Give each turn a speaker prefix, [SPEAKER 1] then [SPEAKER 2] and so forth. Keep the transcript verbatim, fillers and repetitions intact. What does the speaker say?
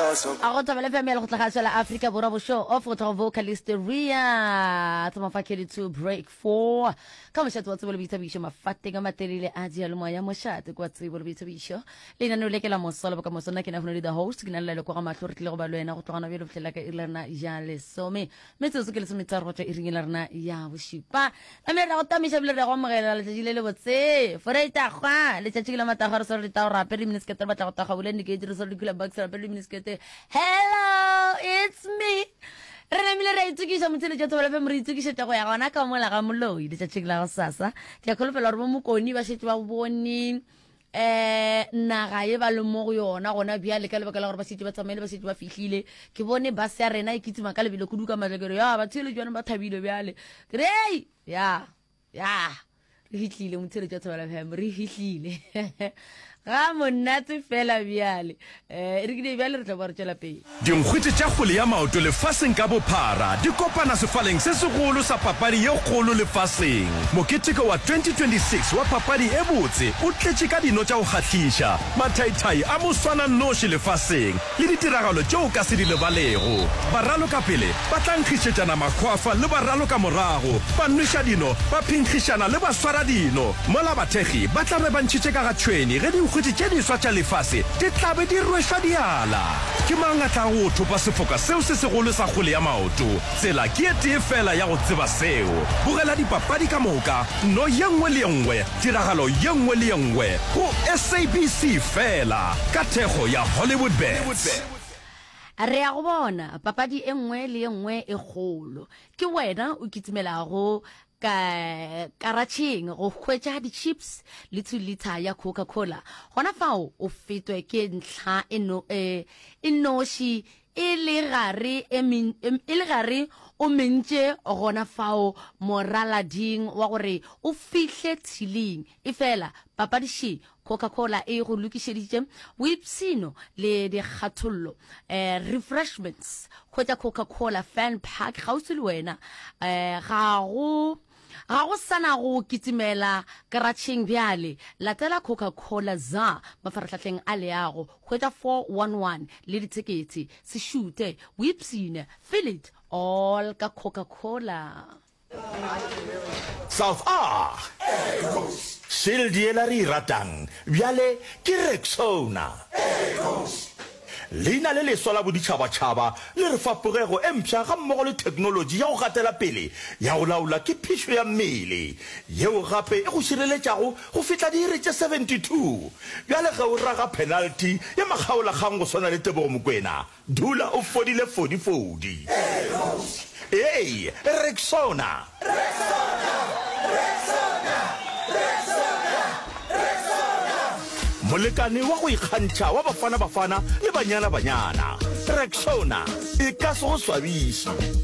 [SPEAKER 1] A go Thobela F M ya Lekgotlakgašo la Afrika Borwa bošo off go tloga vocalist Ria Tsomafa two break four ka mošate wa tsebo le boithabišo mafateng a matelele a diyalemoya mošate kwa tsebo le boithabišo lenaneo le ke la moso le bokamoso. Nna ke na le the host, ke na le leloko ga mahlo, re tlile go ba le wena go tlogana bjalo fihlela ka iri la rena ya lesome metsotso ke lesometharo go tšwa iring la rena ya bošupa. Mme re go tamiša bile re go amogela letšatši le le botse foreitagwa letšatši ke la matagwa re swere ditao re apere miniskete re batla go taga bule dikete re swere dikula bucks re apere miniskete. Hello, it's me. Re namile re a itokiša motheletša Thobela F M, re itokišetša go ya gona ka mola ga moloi letšatšing la go sasa. Ke a kholofela gore bo mokoni ba šetše ba bone um naga ye ba leng mo go yona gona bjale ka lebaka la gore ba šetše ba tsamaile, ba šetše ba fihlile. Ke bone bus ya rena e kitima ka lebelo kudu ka matlakere ya batheeletši ba thabile bjale ke re ei ya ya re fihlile motheletši wa Thobela F M, re fihlile ga monate fela bjale um re kile bjale re tla ba re tšwela pele.
[SPEAKER 2] Dinkgwete tša kgwele ya maoto lefaseng ka bophara di kopana sefaleng se segolo sa papadi ye kgolo lefaseng. Moketeko wa twenty twenty-six wa papadi e botse o tletše ka dino tša go kgahliša, mathaithai a moswananoši lefaseng le ditiragalo tšeo ka se di lebalego. Baralokapele ba tla nkgišetšana makgwafa le baralokamorago, ba nweša dino, ba phenkgišana le baswara dino. Mola bathekgi ba tla be ba ntšhitše ka ga tšhwene ge dinkgwete tše diswa tša lefase di tla be di rwešwa diala. Ke mang a tlago go thopa sefoka seo se segolo sa kgwele ya maoto? Tsela ke e tee fela ya go tseba seo. Bogela dipapadi ka moka, no ye nngwe le ye nngwe, tiragalo ye nngwe le ye nngwe go S A B C fela ka thekgo ya Hollywood Bets.
[SPEAKER 1] Re ya go bona papadi e nngwe le ye nngwe e kgolo. Ke wena o kitimelago ka karatšheng go hwetša di-chips le two liter ya Coca-Cola. Gona fao o fetwe ke ntlha e no e e noši e le gare e men- em- e le gare o mentše gona fao moralading wa gore o fihle tshileng e fela papadi še. Coca-Cola e go lokišeditše boipshino le dikgathollo, eh, refreshments. Hwetša Coca-Cola Fan Park kgauswi le wena. eh, ga go ga go sana go kitimela karatšheng bjale, latela Coca-Cola za mafaratlhatlheng a leago. Hwetša four one one le dithekete, se šute, boipshine, feel it all ka Coca-Cola.
[SPEAKER 2] South A Shield yela re e ratang bjale ke Rexona. Leina le leswa la boditšhabatšhaba le re fa pogego e mpsha gammogo le theknolotši ya go gatela pele ya go laola ke phišo ya mmele yeo gape e go šireletšago go fihla diiri tše seventy-two. Bjale ge o raga penalty ya makgaolakgang go swana le Tebogo Mokoena, dula o fodile fodifodi. Ee, Rexona.
[SPEAKER 3] Rexona! Rexona! Rexona! Rexona!
[SPEAKER 2] Molekane wa go ikgantšha wa Bafana Bafana le Banyana Banyana. Rexona e ka se go swabiše.